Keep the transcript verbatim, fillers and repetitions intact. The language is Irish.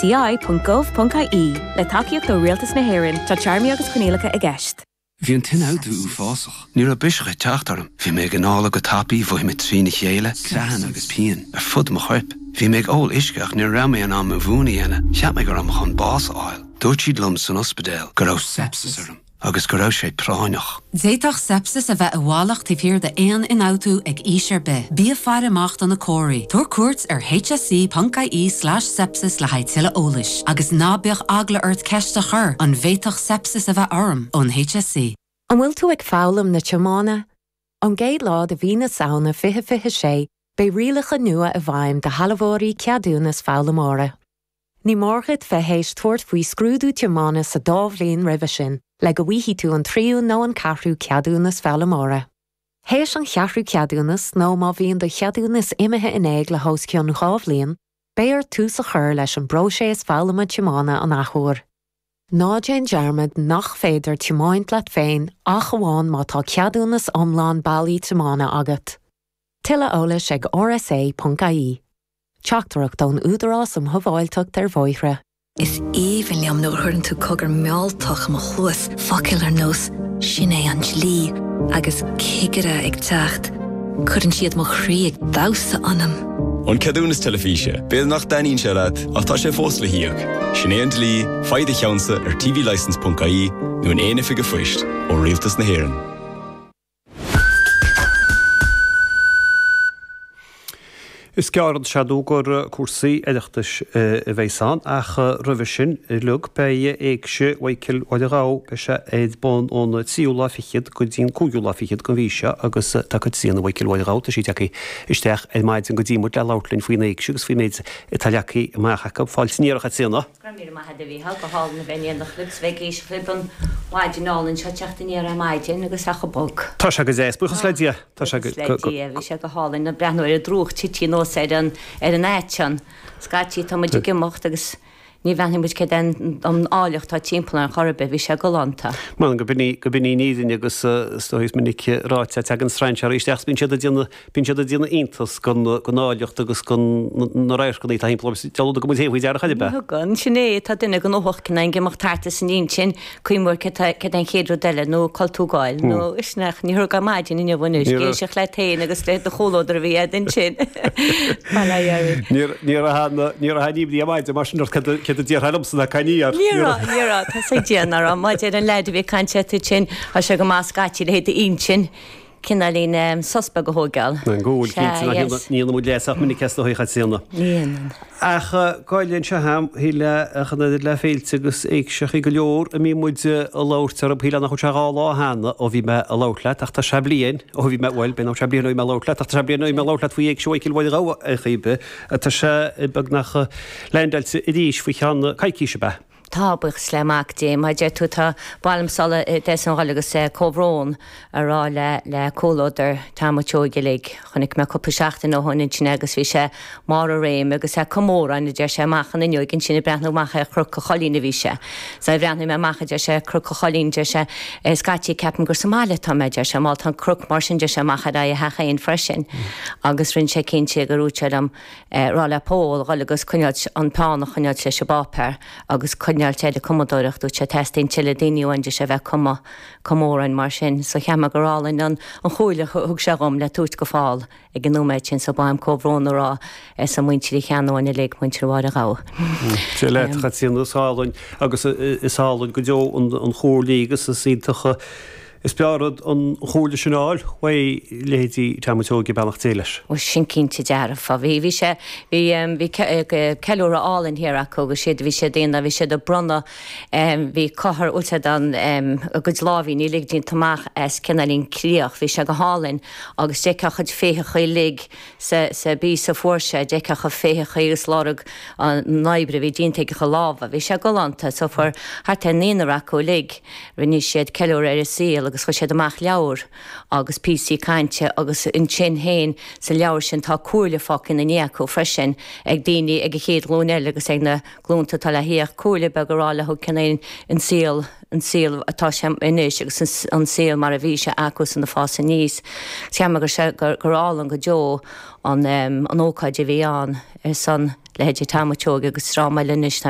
ci.gov.ie le tacaíocht ó Rialtas na hÉireann tá téarmaí agus coinníollacha i gceist. Bhí an t-ionfhabhtú uafásach. Ní raibh biseach ag teacht orm. Bhí mé ag análú go tapaidh mhothaigh mé trína chéile, creathan agus pian ar fud mo choirp. Bhí mé ag ól uisce ach ní raibh mé in ann mo mhún a dhéanamh, cheap mé go raibh mé chun bás a fháil. Dúirt siad liom san ospidéal go raibh sepsis orm agus go raibh sé práinneach. D'fhéadfadh sepsis a bheith i bhfalach taobh thiar d'aon ionfhabhtú ag aois ar bith. Bí ag faire amach do na comharthaí. Tabhair cuairt ar hse.ie slash sepsis le haghaidh tuilleadh eolais, agus ná bíodh eagla ort ceist a chur an bhféadfadh sepsis a bheith orm ón HSE. An bhfuil tú ag foghlaim na tiomána? Ón gcéad lá de mhí na Samhna fiche fiche sé, beidh rialacha nua i bhfeidhm do shealbhóirí ceadúnas foghlaimeora. Ní mór duit bheith théis tabhairt faoi scrúdú tiomána sa dá bhliain roimhe sin, le go bhfaighidh tú an tríú nó an ceathrú ceadúnas foghlaimeora. Théis an cheathrú ceadúnas nó má bhíonn do cheadúnas imithe in éag le hos cionn dhá bhliain, beidh ort tús a chur leis an bpróiseas foghlama tiomána an athuair. Ná déan dearmad nach féidir tiomáint leat féin ach amháin má tá ceadúnas iomlán bailí tiomána agat. Tuilleadh eolais ag rsa.ie. Teachtaireacht ón Údarás um Shábháilteacht ar Bhóithre. Is aoibhinn liom nuair a chuireann tú cogar mealltach i mo chluas, focail ar nós sin é an dlí agus cigire ag teacht. Cuireann siad mo chroí ag damhsa ionam. An ceadúnas teilifíse, B'fhéidir nach dtaitníonn sé leat ach tá sé fós le híoc. Sin é an dlí, faigh do cheannsa ar tvlicence.ie nó in aon oifig phoist ó Rialtas na hÉireann. Is gearr an seadú gur cúrsaí Oireachtais a bheas ann ach roimhe sin uilig beidh Éigse Mhichíl Mháire Ghabha beidh sé ar bun ón tríú lá fichead go dtí an cúigiú lá fichead den mhí seo agus tá Caitríona Mhichíl Mháire Ghabha tá sí tagtha isteach ar maidin go dtí muid le labhairt linn faoin éigse agus faoin méid atá leagtha amach acu. Fáilte aniar a Chaitríona. Go raibh míle maith agat a Mhícheáil, go hálainn a bheith in éineacht libh, 's bheith ag éisteacht libh an mhaidin álainn seo teacht aniar ar maidin agus é chomh bog. Tá sé go deas, buíochas le Dia. Tá sé go le Dia, bhí sé go hálainn ag breathnú ar an drúcht tite anuas ar an ar an áit sin. Scaití tá muid ag imeacht agus ní bhreathnaíonn muid céard é an áilleacht atá timpeall ar chor ar bith, bhí sé galánta. Mar go b'in í go b'in í an fhírinne agus is dóigh is minic ráite tagann strainséirí isteach bíonn siad ag déanamh bíonn siad ag déanamh iontas den den áilleacht agus den na radharcanna atá timpeall orthu. Dealramh go bhfuil faoi deara chor ar bith. Ní thugann, sin é, tá duine gnóthach cineál ag imeacht thart is an intinn cuimhneamh céard é céard é an chéad rud eile nó cá bhfuil tú ag goil nó is nach ní raibh go maidin inniu anois, Ní raibh. éisteacht leat féin agus le do chomhluadar a bhí agat ansin. Bail ó Dhia oraibh. Ní ní raibh an ní raibh an imní ar maidin mar sin ort céard a céard a déarfá liomsa ná cá ní Ní raibh, ní raibh, tá sé Dia nach raibh. Maidir an leaid a bhí ag caint leat ansin, tá sé go maith scaití le haghaidh d'intinn cineáilín sos beag a thógáil. An go bhfuil Sea, cinnte nach yes. ní dhéanann muid leas ach minic as do Chaitríona. Ní dhéanann. Ach goil anseo agam shíle ach an oiread le féilte agus éigseachaí go leor a mbíonn muid ag labhairt orthu shíle nach bhfuil sé dhá lá cheana ó bhí mé ag labhairt leat ach tá sé bliain ó bhí mé bhuel b'fhéidir nach bhfuil sé bliain ó bhí mé ag labhairt leat ach tá sé bliain ó bhí mé ag labhairt leat faoi éigse Mhichíl Mháire Ghabha ar chaoi ar bith. Tá sé beagnach leaindeáilte arís faoi cheann coicíse ab ea? Tá, buíochas le Mac Dé. Mar a deir tú, tá ba mhaith liom sula dtéas a dhul agus comhbhrón a rá le le comhluadar Tom Óig uilig. Chonaic mé cúpla seachtain ó shin ansin é agus bhí sé mbarr a réime agus é chomh mór ann, a deir sé, amach an fhuinneoig ansin ag breathnú amach ar Chnoc an Choillín a bhí sé. So bhreathnaigh mé amach, a deir sé, ar Chnoc an Choillín, deir sé, scaití ceapaim gur sa mbaile atá mé, a deir sé, má tá an cnoc mar sin, deir sé, amach ar aghaidh a theach féin freisin. Agus rinne sé cinnte gur dhúirt sé liom rá le Pól dhul agus coinneáilt an peann a choinneáilt leis an bpáipéar agus coinneáilt ar an cumadóireacht, dúirt sé teastaíonn tuilleadh daoine uainn deir sé a bheith ag cumadh comórainn mar sin. So cheap mé gur álainn an an chomhairle a thug sé dhom le tabhairt go Phól ag an nóiméad sin so ba mhaith liom comhbhrón a rá ar son muintir Uí Cheannabháin uilig, muintir Mháire Ghabha. Dia leat, a Chaitríona, is álainn agus is álainn go deo an chomhairle agus is iontach Is breá rud an chomhairle sin a fháil uaidh leithéidí Tom Óige, beannacht Dé leis. Ó sin cinnte dearfa. Bhí, bhí sé, bhí, bhí ceiliúradh álainn thiar acu agus siad, bhí siad aon, bhí siad ag bronnadh, bhí cothair, bhfuil siad an, a gcuid láimhíní uilig déanta amach as cineáilín críoch, bhí sé go hálainn agus d'fheicfeá a chuid féitheachaí uilig sa, sa bpíosa a fuair sé, d'fheicfeá a chuid féitheachaí agus lorg an oibre a bhí déanta ag a chuid lámha. Bhí sé galánta. So fuair thart ar naonúr acu uilig. Rinne siad ceiliúradh ar a saol agus chuir siad amach leabhar agus píosaí cainte agus ansin féin sa leabhar sin tá comhairle fágtha ina ndiaidh acu freisin ag daoine ag an chéad ghlúin eile agus ag na glúnta atá le theacht, comhairle beag a rá leo cén é an saol an saol atá sé anois agus an saol mar a bhí sé acusan ag fás aníos. Cheap mé gur sé gur álainn go deo an an ócáid a bhí ann ar son leithéidí Tom a' tSeoighe agus dream eile anois.